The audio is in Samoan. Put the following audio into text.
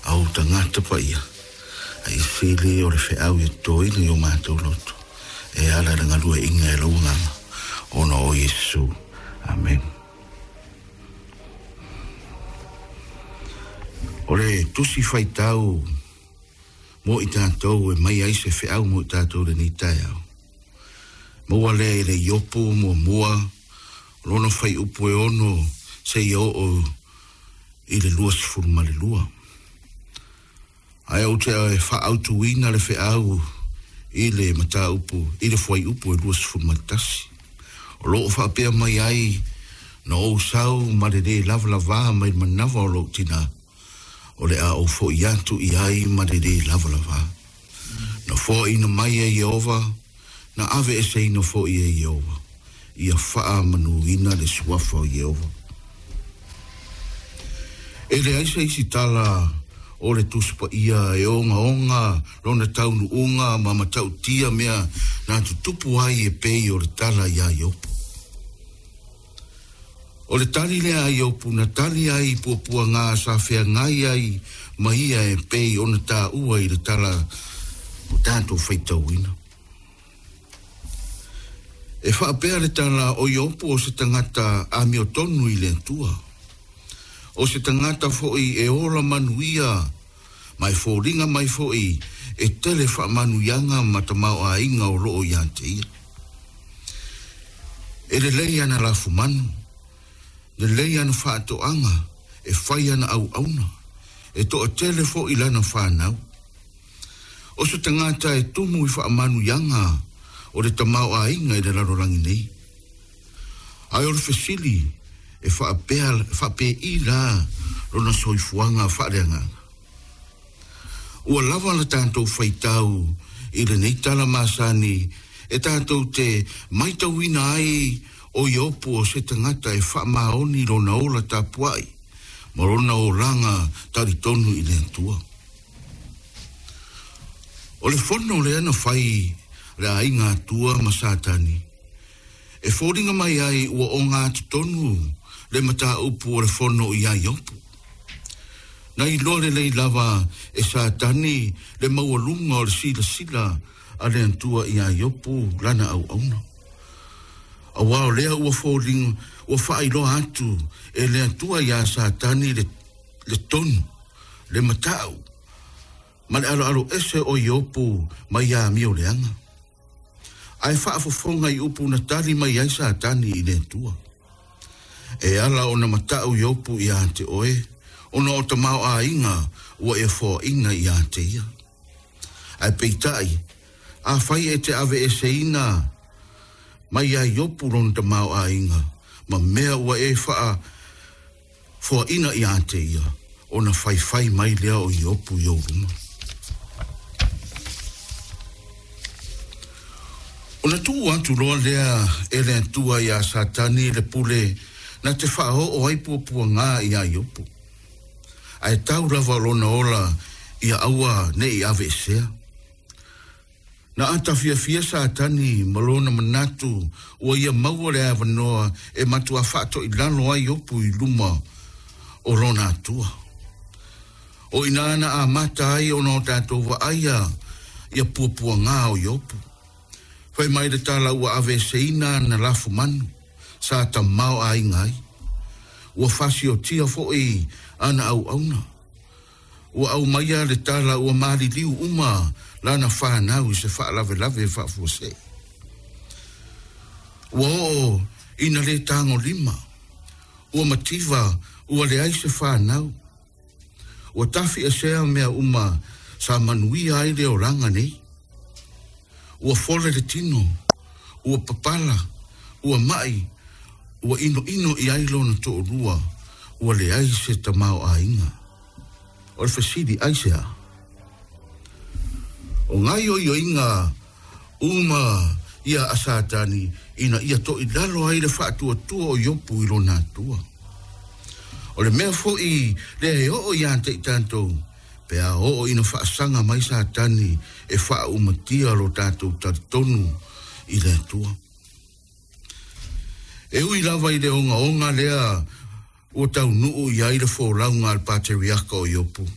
A ou tagata paia, a ia sili o le feau ia totoina i o matou loto, e ala i le galueaiina e lou Agaga, ona o Iesu. Amene. O le tusi faitau mo i tatou e mai ai se feau mo i tatou i lenei taeao. Maua lea i le Iopu muamua, o lona fuaiupu e 6 seia oo i le 22. Ae ou te faaautuina le feau i le mataupu i le fuaiupu e 21. O lo o faapea mai ai, Na ou sau ma le lē lavalavā mai le manava o lou tinā, o le a ou foʻi atu i ai ma le lē lavalavā. Na foaina mai e Ieova, na aveeseina foi e Ieova, ia faamanuina le suafa o Ieova. E leai se isi tala o le Tusi Paia e ogaoga lona taunuuga ma matautia mea na tutupu ai e pei o le tala iā Iopu. O le tali lea a Iopu na tali ai i puapuagā sa feagai ai ma ia e pei ona taua i le tala o tatou faitauina. E faapea le tala o Iopu o se tagata amiotonu i le Atua. O se tagata foi e ola manuia ma e foliga mai foi e tele faamanuiaga ma tamaoaiga o loo ia te ia. E lelei ana lafumanu, lelei ana faatoaga, e fai ana auauna, e toatele foi lana fanau. O se tagata e tumu i faamanuiaga o le tamaoaiga i le lalolagi nei. Ae o le fesili, e faapea, faapei la lona soifuaga faaleagaga? Ua lava la tatou faitau i lenei tala masani e tatou te maitauina ai o Iopu o se tagata e faamaoni lona ola tapuai ma lona olaga talitonu i le Atua. O le fono lea na fai le aiga Atua ma Satani e foliga mai ai ua ogatotonu le mataupu o le fono iā Iopu. Na iloa lelei lava e Satani le maualuga o le silasila a le Atua iā Iopu lana auauna. Aua o lea ua foliga ua faailoa atu e le Atua iā Satani le, le tonu, le matau, ma le aloaloese o Iopu mai amio leaga. Ae faafofoga i upu na tali mai ai Satani i le Atua. E ala ona matau Iopu iā te oe, ona o tamaoaiga ua e foaina iā te ia. Ae peitai, afai e te aveeseina mai iā Iopu lona tamaoaiga ma mea ua e faa foaina iā te ia, ona faifai mai lea o Iopu i ou luma. Ona tuu atu loa lea e le Atua iā Satani le pule na te faaoo ai puapuagā iā Iopu. Ae tau lava lona ola ia aua ne i aveesea. Na ata fiafia Satani ma lona manatu ua ia maua le avanoa e matuā faatoilalo ai Iopu i luma o lona Atua. O inā na amata ai ona o tatou vaaia ia puapuagā o Iopu. Fai mai le tala ua aveeseina ana lafumanu sa tamaoaiga ai. Ua fasiotia foi ana auauna. Ua aumaia le tala ua maliliu uma lana fanau i se faalavelave faafuasei. Ua oo ina lē tagolima, ua mativa, ua leai se fanau. Ua tafiesea mea uma sa manuia ai le olaga nei. Ua fole le tino, ua papala, ua maʻi, ua inoino i ai lona toalua, ua leai se tamaoaiga. O le fesili, aisea? O gaoioiga uma ia a Satani ina ia toilalo ai le faatuatua o Iopu i lona Atua. O le mea foi lea e oo iā te i tatou, pe a oo ina faasaga mai Satani e faaumatia lo tatou talitonu i le Atua. E ui lava i le ogaoga lea ua taunuu i ai le folauga a le pateriaka o Iopu.